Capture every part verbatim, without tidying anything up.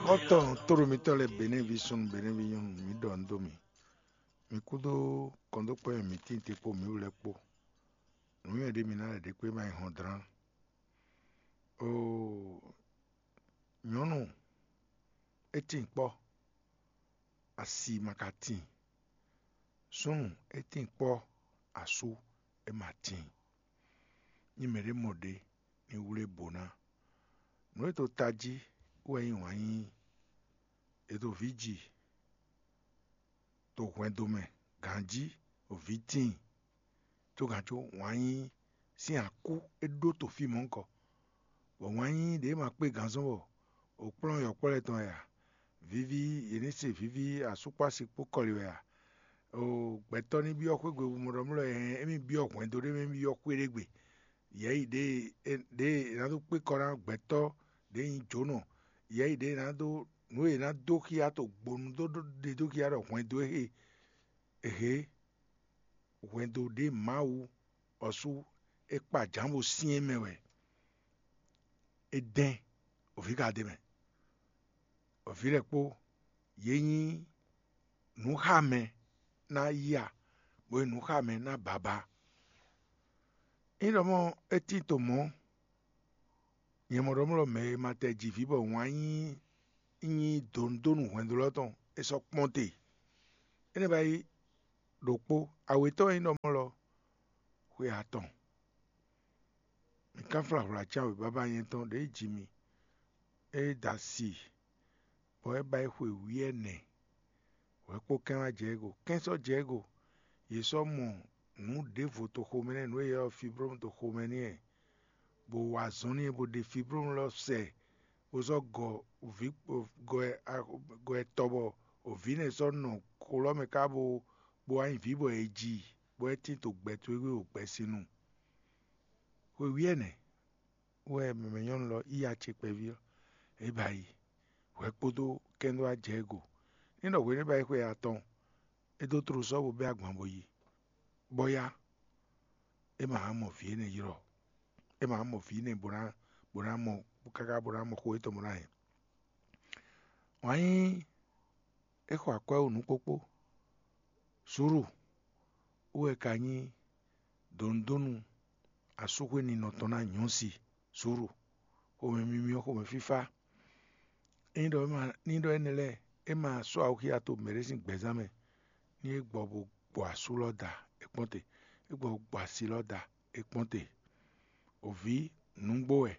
Xɔ́ntɔn tóɖomitɔ́ lɛ́ɛ, Benɛ́vi súnnu, Benɛ́vi nyɔ́nu, mǐ ɖɔ nǔ dó mì. Mi kúdó kɔndókpɔ́ e mǐ tíin te kpó mǐ wú lɛ́ɛ kpó. Nǔnywɛ́ ɖé mi ná lɛ́ ɖě kpé ma yi hɔn dlán. Oo, nyɔ̌nu, é tíin kpɔ́, asi ma ka tíin. Súnnu, é tíin kpɔ́, asú, é ma tíin. Nyi mɛɖé mɔ ɖě ní wlé bǒ ná. Nǔ e to tají wɛ nyí wǎn yíyí. È ɖo vǐ ji to hwɛndo mɛ, ganjí, o vǐ tíin, có gǎn có wǎn yíyí sín akú é ɖó to fí mɔ̌hunkɔ, bɔ wǎn yíyí ɖě ma kpé gǎn zɔ́n bɔ o kplɔ́n yɔ̌kpɔ́ lɛ́ɛ tɔn wɛ a? Viví yě ní se viví asúkpási kpó kɔli wɛ a? O gbɛtɔ́ ní byɔ́ xwé gbe mɔɖɔmlɔ́, hɛn émí byɔ́ hwɛndo ɖé mɛ, émí byɔ́ xwé ɖé gbe. Yɛ̌yi ɖě e ɖě e è nǎ dó kpé kɔ ná gbɛtɔ́ ɖě nyí jǒnɔ, yɛ̌yi ɖě e è nǎ dó nǔ e è nǎ dó xyá to gbonu dó ɖe dó xyá ɖɔ hwɛndo e hwɛndo ɖě Mawu ɔ́ sú é kpa jǎn bó syɛ́n mɛ wɛ. É dɛ́n, o vǐ ka ɖ'é mɛ, o vǐ lɛ́ɛ kpó, yě nyí nǔxámɛ ná yí a, bó nyí nǔxámɛ ná bǎbá. Ényí ɖɔ mɔ̌ é tín to mɔ̌, nyɛ mɔ ɖɔ mlɔ́ mɛ e ma tɛ ji vǐ bɔ wǎn nyí nyí dǒnúdónú hwɛndo lɔ tɔn, é sɔ́ kpɔ́n te. Énɛ́ ba yí ɖokpó, awětɔn e nyí ɖɔ mɔ̌ lɔ, xwe atɔn. Mi kánflá hwlǎ can wěbábá nyɛ tɔn ɖě ji mi, é da si, bɔ é ba yi xwe wǐ ɛnɛ. Hwɛ kpó kɛ́n wá jɛ ego, kɛ́n sɔ́ jɛ ego. Yě sɔ́ mɔ nǔ ɖěvo to xomɛ nɛ́, nǔ e è ylɔ́ fiblómu to xomɛ n'i wɛ, bó wa azɔn n'i, bó ɖe fiblómu lɔ sɛ, bó sɔ́ gɔ vǐ gɔ gɔ ɛ tɔ bɔ vǐ nɛ́ sɔ́ nɔ xo lɔ́ mɛ ká bó bó wá nyí vǐ bɔ è ji, bɔ é tín to gbɛ towe wú ɖo gbɛsinu. Xwe wǐ ɛnɛ wɛ mɛmɛ nyɔ́nu lɔ yí acɛ kpɛví ɔ́, é ba yi, hwɛ kpódó kɛ́n dó wá jɛ ego. Ní ɖɔ hwenu e ba yi xwe atɔn, é dó tló sɔ́ bó bɛ́ agban bó yi, bɔ yá, é ma hán mɔ vǐ énɛ́ ylɔ́, é ma hán mɔ vǐ énɛ́ bó ná bó ná mɔ káká bó ná mɔ xó étɔn bó ná hɛn. Wǎn yíyí é xɔ akwɛ́ wú nǔkpókpó. Zuru wú wɛ ka nyí dǒnúdónú asúxwé ninɔ tɔn ná nyɔ̌si. Zuru xomɛ mímí ɔ́, xomɛ fífá. Ényí ɖɔ é ma ní ɖɔ énɛ́ lɛ́ɛ, é ma sɔ́ awuxíya to mɛɖé sín gbɛzán mɛ, ní é gbɔ bó gbɔ asú lɔ da é kpɔ́n te, é gbɔ bó gbɔ asi lɔ da é kpɔ́n te. Òví nǔgbó wɛ,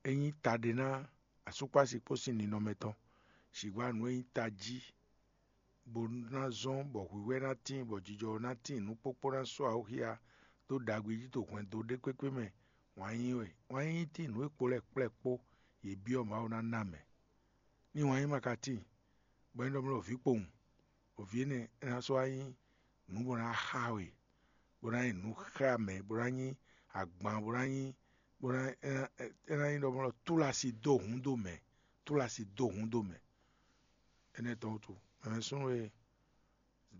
é nyí taɖé ná asúkpási kpó sín ninɔmɛ tɔn, sǐgbá nǔ e nyí tají, bó ná zɔ́n bɔ hwǐhwɛ́ ná tíin, bɔ jijɔ ná tíin, nǔkpókpó ná sɔ́ awuxíya dó ɖagbe jí to hwɛndo ɖé kpékpé mɛ. Wǎn yíyí wɛ, wǎn yíyí tíin nǔ e kpo lɛ́ɛ kplɛ́ kpó yě byɔ́ Mawu ná ná mɛ. Ní wǎn yíyí ma ka tíin, bɔ é nɔ bló vǐ kpowun, bɔ vǐ énɛ́ é ná sɔ́ wá nyí nǔ bó ná xa we, bó ná nyí nǔ xá mɛ, bó ná nyí agban, bó ná nyí bó ná é ná é ná nyí ɖɔ mɔ túlási dó hǔn dó mɛ, túlási dó hǔn dó mɛ. Énɛ́ tɔn wútu, mɛ súnnu e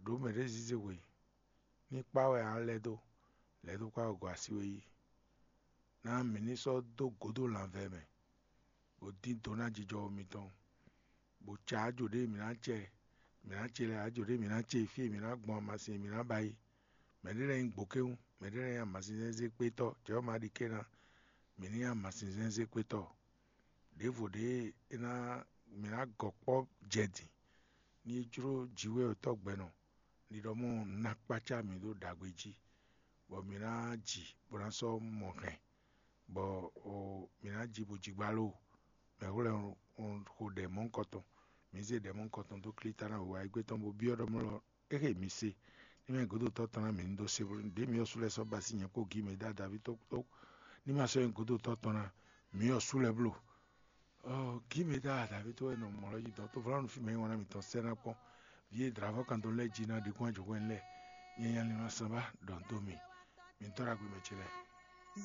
ɖǒ mɛɖé zíze hwe, ní kpá wɛ ǎ lɛ́ dó, lɛ́ dó kpá wɛ gɔ́ así we yí. Ná mǐ ní sɔ́ dó gǒdo lanvɛ mɛ, bó dín do ná jijɔ mitɔn, bó ca ajo ɖé mǐ ná cɛ, mǐ ná ce lɛ́ɛ ajo ɖé mǐ ná ce fí e mǐ ná gbɔn amasin e mǐ ná ba yi. Mɛɖé lɛ́ɛ nyí gbǒkéwún, mɛɖé lɛ́ɛ nyí amasin zɛ́nzɛ́n kpétɔ́, Jɛ̌ ɔ́ ma ɖi ké ná mǐ ní nyí amasin zɛ́nzɛ́n kpétɔ́. Ɖěvo ɖě é ná mǐ ná gɔ kpɔ́ jɛ din, ní é jló jǐ wɛ wětɔ́ gbɛnɔ, ní ɖɔ mɔ ná kpácá mǐ ɖo ɖagbe jí, bɔ mǐ ná ji bó ná sɔ́ mɔ hɛn, bɔ mǐ ná ji bó ji gbá lóo. Mɛ̌ hwlɛ́n xo ɖɛ mɔ̌hunkɔtɔn? Mǐ zé ɖɛ mɔ̌hunkɔtɔn dó klíta ná wěwá égbé tɔn bó byɔ́ ɖɔ mlɔ́ é xe mǐ se, ní mɛ gǒdotɔ́ tɔn ná mǐ ní dó se bló. Ɖě mǐ ɔ́ sú lɛ́ɛ sɔ́ ba sín nyɛ kpó gǐ mɛ dó adaví tó kpó, ní ma sɔ́ nyí gǒdotɔ́ tɔn ná, mǐ ɔ́ sú lɛ́ɛ bló. Gǐ mɛ dó adaví tó wɛ nɔ mɔ lɔ jí dɔ̌ tó vlanu fí mɛ nyí wan ná mǐtɔn sɛ́ ná kpɔ́n. Vǐ e dlǎvɔ́ kan dó lɛ́ɛ jí ná ɖi kún ajɔ̌ hwɛ́n lɛ́ɛ, nyɛ nya lin ná sán bá ɖɔ dó mì. Mi tɔ́ ɖagbe mɛ ce lɛ́ɛ.